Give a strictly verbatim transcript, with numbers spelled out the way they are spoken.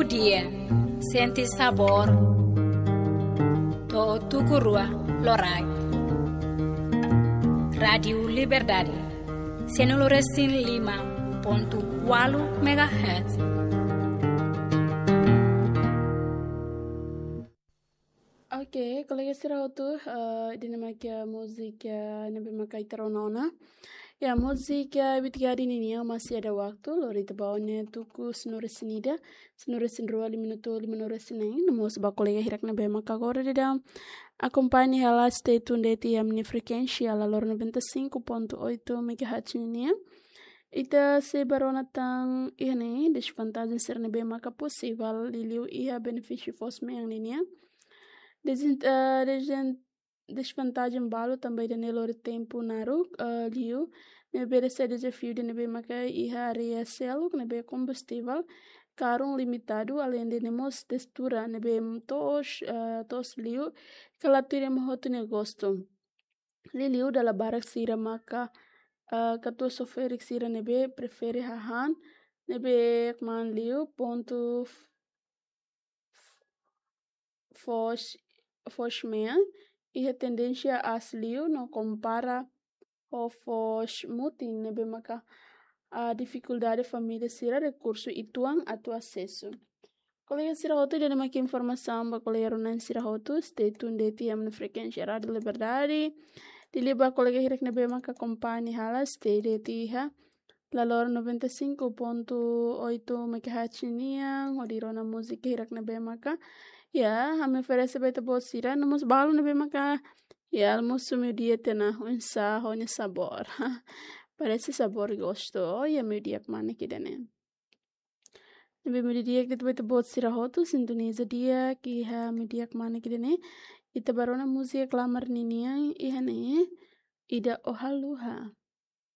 Dia, sente sabór. To'o tuku rua loraik. Rádiu Liberdade, sanulu-resin-lima pontu ualu megahertz. Oke, kolega sira hotu, eh, ida-ne'e mak iha múzika ne'ebé maka ita rona ona. Ya, múzika Bitgadi ninian Masih Ada Waktu, lori ita ba ona tuku sanulu-resin-ida, sanulu-resin-rua, lima minutu, limanulu-resin-neen, no mós ba kolega hirak ne'ebé maka agora daudaun akompaña hela stay tune de'it iha ami-nia frekuénsia Lalor noventa e cinco ponto oito megahertz ninian. Ita sei bá rona tan iha ne'e dezvantajen sira ne'ebé maka posivel liuliu iha benefísiu foos-mean ninian. Dezin-, eh, dezin-, dezvantajen balu tanba ida-ne'e lori tempu naruk, eh, liu, ne'ebé sai dezafiu ida ne'ebé maka iha área seluk ne'ebé kombustivel karun limitadu, aleinde ne'e mós textura ne'ebé toos, eh, toos liu, ka la tuir ema hotu nia gostu. Liuliu dala barak sira maka, eh, katuas ou ferik sira ne'ebé prefere hahán ne'ebé kmaan liu pontu f-, foos, foos-mean, iha tendénsia aas liu no kompara ho foos mutin ne'ebé maka, ah, difikuldade família sira rekursu uitoan atu asesu. Kolega sira hotu, ida-ne'e mak informasaun ba kolega rona sira hotu, stay tune de'it iha ami-nia frekuénsia Rádiu Liberdade. Liuliu ba kolega hirak ne'ebé maka akompaña hela, stay de'it iha Lalor noventa e cinco ponto oito megahertz nian, hodi rona múzika hirak ne'ebé maka, ya, ami oferese ba ita-boot sira, no mós balu ne'ebé maka, ya, almosu meiudia tiha ona, oinsá ho nia sabór. Parese sabór gostu, oh, ya, meiudia kmanek ida-ne'e. Ne'ebé meiudia di'ak ba ita-boot sira hotu, sintoniza di'ak iha meiudia kmanek ida-ne'e. Ita bá rona múzika klamar ninian iha ne'e, ida O Haluha.